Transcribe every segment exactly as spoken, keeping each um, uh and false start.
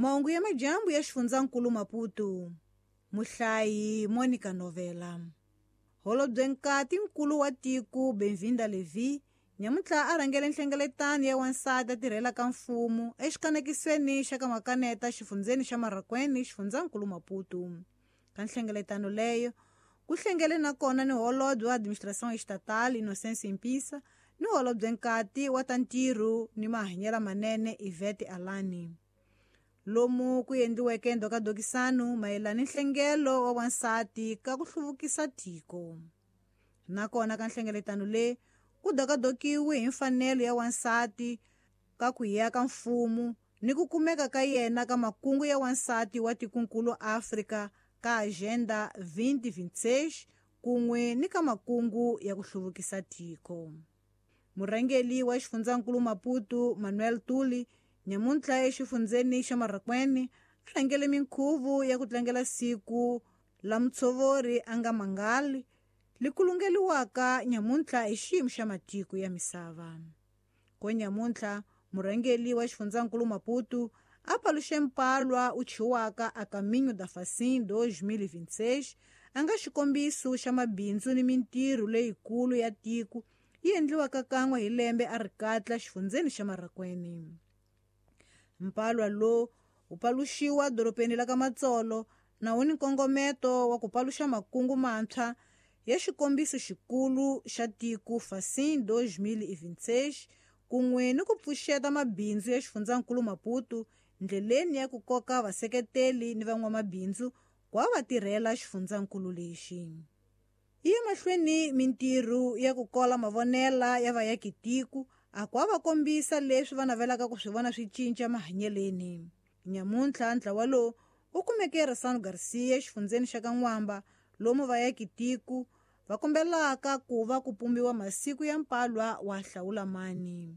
Mahungu ya majambu ya xifundzankulu Maputo. Muhlayi Monica Novela. Holobye nkati nkulu wa tiko Benvinda Levi nyamuntlha a rhangele nhlengeletano ya wansati a tirhelaka mfumo exikanekisweni xa ka Makaneta xifundzeni xa Marraquene xifundzankulu Maputo. Ka nhlengeletano leyo ku hlengele na kona ni holobye wa administration estatal Innocence Impisa ni holobye nkati wa ta ntirho ni mahanyelo manene Ivete Alani. Lomu ku endliweke ndhokadokisano mayelana ni nhlengelo wa wansati ka ku hluvukisa tiko. Nakona ka nhlengeletano leyi ku dokadokiwe hi mfanelo ya wansati ka ku ya ka mfumo ni ku kumeka ka yena ka makungu ya wansati wa tikonkulu Afrika ka Agenda twenty twenty-six kun'we ni ka makungu ya ku hluvukisa tiko. Murhangeri wa xifundzankulu Maputo Manuel Tuli nyamuntlha exifundzeni xa Marraquene a rhangele minkhuvo ya ku tlangela siku la mutshovori a nga mangali li kulungeliwaka nyamuntlha hi xiyimo xa matiko ya misava. Ko nyamuntlha murhangeri wa xifundzankulu Maputo a paluxe mpalwa u chiwaka a Caminho da Facim dois mil e vinte e seis a nga xikombiso xa mabindzu ni mintirho leyikulu ya tiko yi endliwaka kan'we hi lembe a ri katla xifundzeni xa Marraquene. Mpalwa lowu wu paluxiwa doropeni la ka Matsolo na wu ni nkongometo wa ku paluxa makungu mantshwa ya xikombiso xikulu xa tiko Facim dois mil e vinte e seis kun'we ni ku pfuxeta mabindzu ya xifundzankulu Maputo ndleleni ya ku koka vaseketeli ni van'wamabindzu ku va va tirhela xifundzankulu lexi. Yi ya mahlweni mintirho ya ku kola mavonela ya vayakitiko a ku va kombisa leswi va navelaka ku swi vona swi cinca mahanyeleni. Nyamuntlha ntlawa lowu wu kumeke Ressano Garcia xifundzeni xa ka N'wamba lomu vayakitiko va kombelaka ku va ku pumbiwa masiku ya mpalwa wa hlawulamani.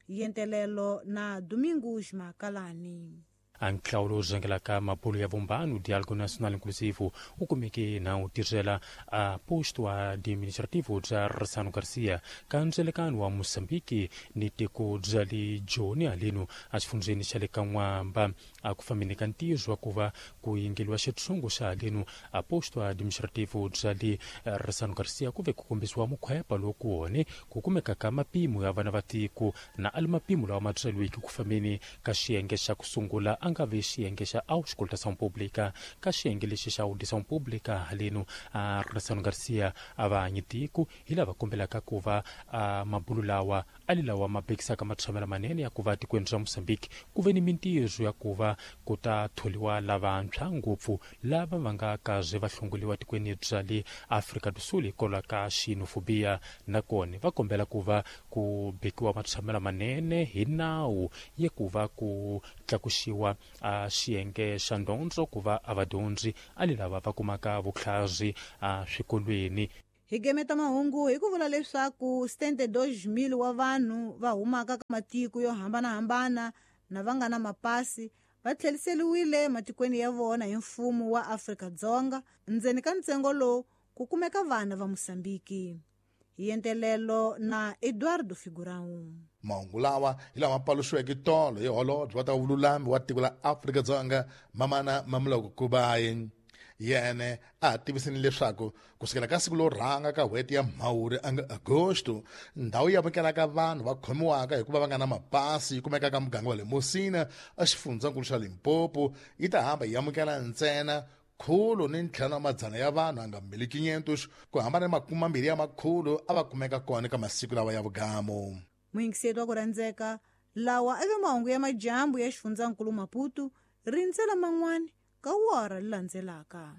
Yentelelo na Domingos Makalani. A nhlawulo wu rhangelaka mabulo ya vumbano Diálogo Nacional Inclusivo wu kumeke na wu tirhela a posto administrativo bya Ressano Garcia ka ndzelekano wa Mozambique ni tiko bya le Joni haleno a xifundzeni xa le ka N'wamba a ku fambeni ka ntirho wa ku va ku yingeliwa xitshungu xa haleno a posto administrativo bya le Ressano Garcia ku ve ku kombisiwa mukhwepa loku wone ku kumeka ka mapimo ya vana va tiko na ali mapimo lawa ma byeriweke ku fambeni ka xiyenge xa ku sungula a nga ve xiyenge xa auscultação pública ka xiyenge lexi xa audição pública haleno a Ressano Garcia a va hanyi tiko hi lava kombelaka ku va a mabulu lawa ali lawa ma bekisaka matshamelo manene ya ku va tikweni ra Mozambique ku ve ni mintirho ya ku va ku ta tholiwa lavantshwa ngopfu lava va nga kaze va hlongoliwa tikweni bya le Afrika do Sul hikwalaho ka xenofobia nakona va kombela ku va ku bekiwa matshamelo manene hi nawu ya ku va ku tlakuxiwa a xiyenge xa ndondzo ku va a vadyondzi ali lava va kumaka vutlhari a swikolweni. Hi gemeta mahungu hi ku vula leswaku setenta e dois mil wa vanhu va humaka ka matiko yo hambanahambana na va nga na mapasi va tlheriseriwile matikweni ya vona hi mfumo wa Afrika-Dzonga ndzeni ka ntsengo lowu ku kumeka vana va Mozambique. Hi yentelelo na Eduardo Figurão. Mahungu lawa hi lama paluxiweke tolo hi holobye wa ta vululami wa tiko la Afrika-Dzonga Mamana Mamoloko Kubayi. Yene a tivisini leswaku kusukela ka siku lo rhanga ka n'hweti ya Mhawuri anga Agosto ndhawu yi amukelaka vanhu va khomiwaka hikuva va nga na mapasi yi kumeka ka muganga wa le Musina exifundzankulu xa Limpopo yi ta hamba yi amukela ntsena khulu ni ntlhanu wa madzana ya vanhu a nga mbili quinhentos ku hambana ni makume mambirhi ya makhulu a va kumeka kona ka masiku lawa ya vugamu. Muyingiseti wa ku rhandzeka lawa eka mahungu ya majambu ya xifundzankulu Maputo rindzela man'wani ka wara li landzelaka.